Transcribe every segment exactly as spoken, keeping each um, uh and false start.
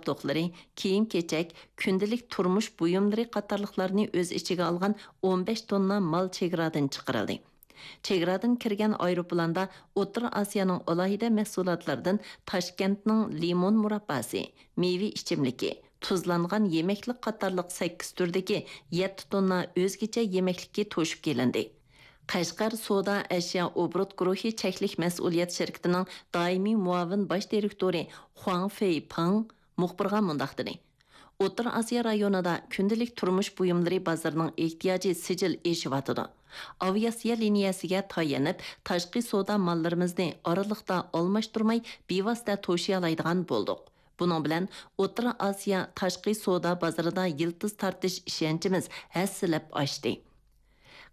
تۇتۇقلىرى، كىيىم-كېچەك، كۈندىلىك تۇرمۇش بۇيۇملىرى قاتارلىقلارنى ئۆز ئىچىگە ئالغان ئون بەش توننا مال چېگرادىن چىقىرىلدى. چېگرادىن كىرگەن ئايروپىلاندا ئوتتۇرا ئاسىيانىڭ ئالاھىدە مەھسۇلاتلىرىدىن تاشكەنتنىڭ لىمون مۇرابباسى، مېۋە ئىچىملىكى، تۇزلانغان يېمەكلىك قاتارلىق سەككىز تۈردىكى يەتتە توننا ئۆزگىچە يېمەكلىكى توشۇپ كېلىندى. قەشقەر سودا ئەشيا ئوبوروت گۇرۇھى چەكلىك مەسئۇلىيەت شىركىتىنىڭ دائىمىي مۇئاۋىن باش دىرېكتورى خۇاڭ فېيپىڭ مۇخبىرغا مۇنداق دېدى: ئوتتۇرا ئاسىيا رايونىدا كۈندىلىك تۇرمۇش بۇيۇملىرى بازىرىنىڭ ئېھتىياجى سىجىل ئېشىۋاتىدۇ. ئاۋىئاتسىيە لىنىيەسىگە تايىنىپ، تاشقى سودا ماللىرىمىزنى ئارىلىقتا ئالماشتۇرماي، بىۋاسىتە توشۇيالايدىغان بولدۇق. بۇنىڭ بىلەن ئوتتۇرا ئاسىيا تاشقى سودا بازىرىدا يىلتىز تارتىش ئىشەنچىمىز ھەسسىلەپ ئاشتى.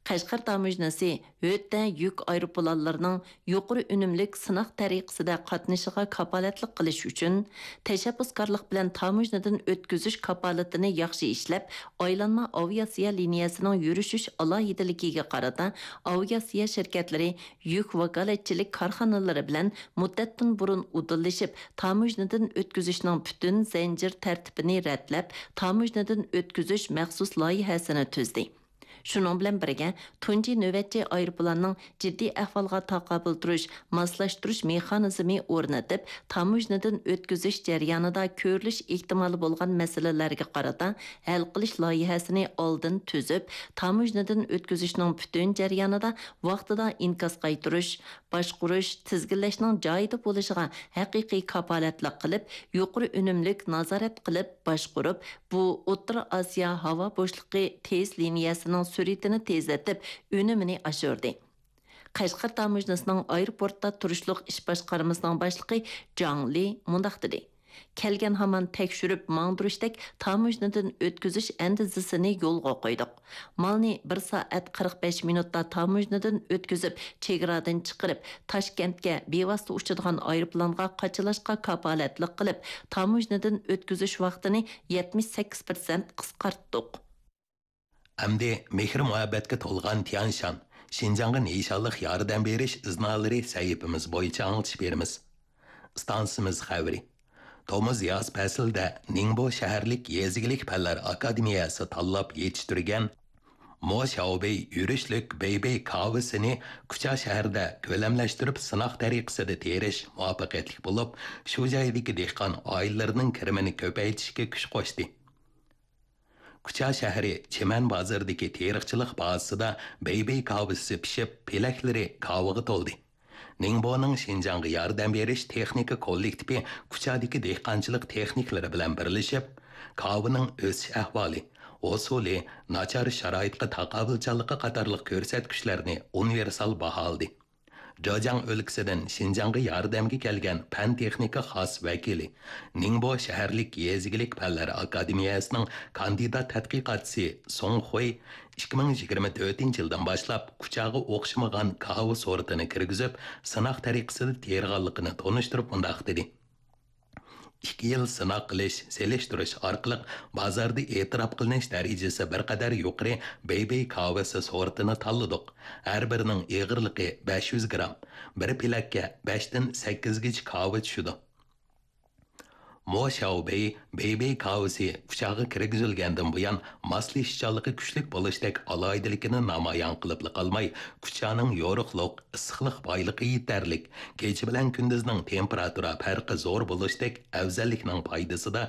قەشقەر تاموژنىسى ھۆددە يۈك ئايروپىلانلىرىنىڭ يۇقىرى ئۈنۈملۈك سىناق تەرىقىسىدە قاتنىشىشىغا كاپالەتلىك قىلىش ئۈچۈن، تەشەببۇسكارلىق بىلەن تاموژنىدىن ئۆتكۈزۈش كاپالىتىنى ياخشى ئىشلەپ، ئايلانما ئاۋىئاتسىيە لىنىيەسىنىڭ يۈرۈشۈش ئالاھىدىلىكىگە قارىتا ئاۋىئاتسىيە شىركەتلىرى يۈك ۋاكالەتچىلىك كارخانىلىرى بىلەن مۇددەتتىن بۇرۇن ئۇدۇللىشىپ، تاموژنىدىن ئۆتكۈزۈشنىڭ پۈتۈن زەنجىر تەرتىپىنى رەتلەپ، تاموژنىدىن ئۆتكۈزۈش مەخسۇس لايىھەسىنى تۈزدى. شۇنىڭ بىلەن بىرگە، تۇنجى نۆۋەتچى ئايروپىلاننىڭ جىددىي ئەھۋالغا تاقابىل تۇرۇش، ماسلاشتۇرۇش مېخانىزمى ئورنىتىپ، تاموژنىدىن ئۆتكۈزۈش جەريانىدا كۆرۈلۈش ئېھتىمالى بولغان مەسىلىلەرگە قارىتا ھەل قىلىش لايىھەسىنى ئالدىن تۈزۈپ، تاموژنىدىن ئۆتكۈزۈشنىڭ پۈتۈن جەريانىدا ۋاقتىدا ئىنكاس قايتۇرۇش، باشقۇرۇش، تىزگىنلەشنىڭ جايىدا بولۇشىغا ھەقىقىي كاپالەتلىك قىلىپ، يۇقىرى ئۈنۈملۈك نازارەت قىلىپ باشقۇرۇپ، بۇ ئوتتۇرا ئاسىيا ھاۋا بوشلۇقى تېز لىنىيەسىنىڭ سۈرئىتىنى تېزلىتىپ، ئۈنۈمىنى ئاشۇردى. قەشقەر تاموژنىسىنىڭ ئايروپورتتا تۇرۇشلۇق ئىش باشقارمىسىنىڭ باشلىقى جاڭ لى مۇنداق دېدى: كەلگەن ھامان تەكشۈرۈپ ماڭدۇرۇشتەك تاموژنىدىن ئۆتكۈزۈش ئەندىزىسىنى يولغا قويدۇق. مالنى بىر سائەت قىرىق بەش مىنۇتتا تاموژنىدىن ئۆتكۈزۈپ، چېگرادىن چىقىرىپ، تاشكەنتكە بىۋاسىتە ئۇچىدىغان ئايروپىلانغا قاچىلاشقا كاپالەتلىك قىلىپ، تاموژنىدىن ئۆتكۈزۈش ۋاقتىنى يەتمىش سەككىز پىرسەنت قىسقارتتۇق. ئەمدى مېھىر-مۇھەببەتكە تولغان تيەنشان، شىنجاڭغا نىشانلىق ياردەم بېرىش ئىزنالىرى سەھىپىمىز بويىچە ئاڭلىتىش بېرىمىز. ئىستانسىمىز خەۋىرى. تومۇز-ياز پەسلىدە نىڭبو شەھەرلىك يېزا ئىگىلىك پەنلەر ئاكادېمىيەسى تاللاپ يېتىشتۈرگەن مو شياۋبېي يۈرۈشلۈك بېيبېي كاۋىسىنى كۇچا شەھىرىدە كۆلەملەشتۈرۈپ سىناق تەرىقىسىدە تېرىش مۇۋەپپەقىيەتلىك بولۇپ، شۇ جايدىكى دېھقان ئائىلىلىرىنىڭ كىرىمىنى كۆپەيتىشكە كۈچ قوشتى. كۇچا شەھىرى چىمەن بازىرىدىكى تېرىقچىلىق بازىسىدا بېيبېي كاۋىسى پىشىپ، پېلەكلىرى كاۋىغا تولدى. نىڭبونىڭ شىنجاڭغا ياردەم بېرىش تېخنىكا كوللېكتىپى كۇچادىكى دېھقانچىلىق تېخنىكلىرى بىلەن بىرلىشىپ، كاۋىنىڭ ئۆسۈش ئەھۋالى، ھوسۇلى، ناچار شارائىتقا تاقابىلچانلىقى قاتارلىق كۆرسەتكۈچلەرنى ئۇنىۋېرسال باھالىدى. جېجياڭ ئۆلكىسىدىن شىنجاڭغا ياردەمگە كەلگەن پەن-تېخنىكا خاس ۋەكىلى، نىڭبو شەھەرلىك يېزا ئىگىلىك پەنلەر ئاكادېمىيەسىنىڭ كاندىدات تەتقىقاتچىسى سۇڭ خۇي ئىككى مىڭ يىگىرمە تۆتىنچى يىلدىن باشلاپ كۇچاغا ئوخشىمىغان كاۋا سورتىنى كىرگۈزۈپ، سىناق تەرىقىسىدە تېرىغانلىقىنى تونۇشتۇرۇپ مۇنداق دېدى: ئىككى يىل سىناق قىلىش، سېلىشتۇرۇش ئارقىلىق بازاردا ئېتىراپ قىلىنىش دەرىجىسى بىر قەدەر يۇقىرى بېيبېي كاۋىسى سورتىنى تاللىدۇق. ھەر بىرىنىڭ ئېغىرلىقى بەش يۈز گرام، بىر پېلەككە بەشتىن سەككىزگىچە كاۋا چۈشىدۇ. مو شياۋبېي بېيبېي كاۋىسى كۇچاغا كىرگۈزۈلگەندىن بۇيان، ماسلىشىشچانلىقى كۈچلۈك بولۇشتەك ئالاھىدىلىكىنى نامايان قىلىپلا قالماي، كۇچانىڭ يورۇقلۇق، ئىسسىقلىق بايلىقى يېتەرلىك، كېچە بىلەن كۈندۈزنىڭ تېمپېراتۇرا پەرقى زور بولۇشتەك ئەۋزەللىكنىڭ پايدىسىدا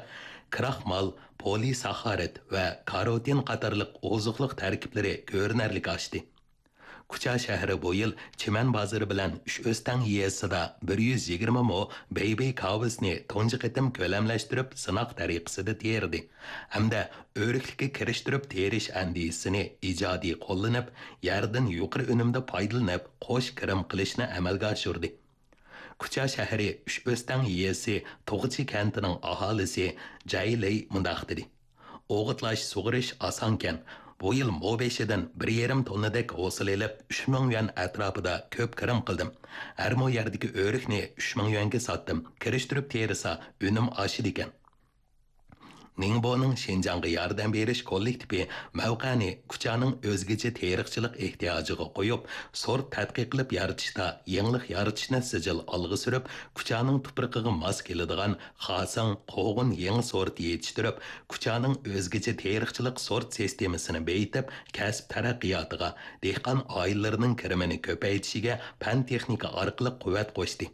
كراخمال، پولىساخارىد ۋە كاروتىن قاتارلىق ئوزۇقلۇق تەركىبلىرى كۆرۈنەرلىك ئاشتى. كۇچا شەھىرى بۇ يىل چىمەن بازىرى بىلەن ئۈچ ئۆستەڭ يېزىسىدا بىر يۈز يىگىرمە مو بېيبېي كاۋىسىنى تۇنجى قېتىم كۆلەملەشتۈرۈپ سىناق تەرىقىسىدە تېرىدى ھەمدە ئۆرۈكلۈككە كىرىشتۈرۈپ تېرىش ئەندىزىسىنى ئىجادىي قوللىنىپ، يەردىن يۇقىرى ئۈنۈمدە پايدىلىنىپ، قوش كىرىم قىلىشنى ئەمەلگە ئاشۇردى. كۇچا شەھىرى ئۈچ ئۆستەڭ يېزىسى توغچى كەنتىنىڭ ئاھالىسى جەي لېي مۇنداق دېدى: ئوغۇتلاش، سۇغىرىش ئاسانكەن. بۇ يىل مو بېشىدىن بىر يېرىم توننىدەك ھوسۇل ئېلىپ، ئۈچ مىڭ يۈەن ئەتراپىدا كۆپ كىرىم قىلدىم. ھەر مو يەردىكى ئۆرۈكنى ئۈچ مىڭ يۈەنگە ساتتىم. كىرىشتۈرۈپ تېرىسا، ئۈنۈم ئاشىدىكەن. نىڭبونىڭ شىنجاڭغا ياردەم بېرىش كوللېكتىپى مەۋقەنى كۇچانىڭ ئۆزگىچە تېرىقچىلىق ئېھتىياجىغا قويۇپ، سورت تەتقىق قىلىپ يارىتىشتا يېڭىلىق يارىتىشنى سىجىل ئالغا سۈرۈپ، كۇچانىڭ تۇپرىقىغا ماس كېلىدىغان خاسىڭ، قوغۇن يېڭى سورتى يېتىشتۈرۈپ، كۇچانىڭ ئۆزگىچە تېرىقچىلىق سورت سىستېمىسىنى بېيىتىپ، كەسىپ تەرەققىياتىغا، دېھقان ئائىلىلىرىنىڭ كىرىمىنى كۆپەيتىشىگە پەن-تېخنىكا ئارقىلىق قۇۋۋەت قوشتى.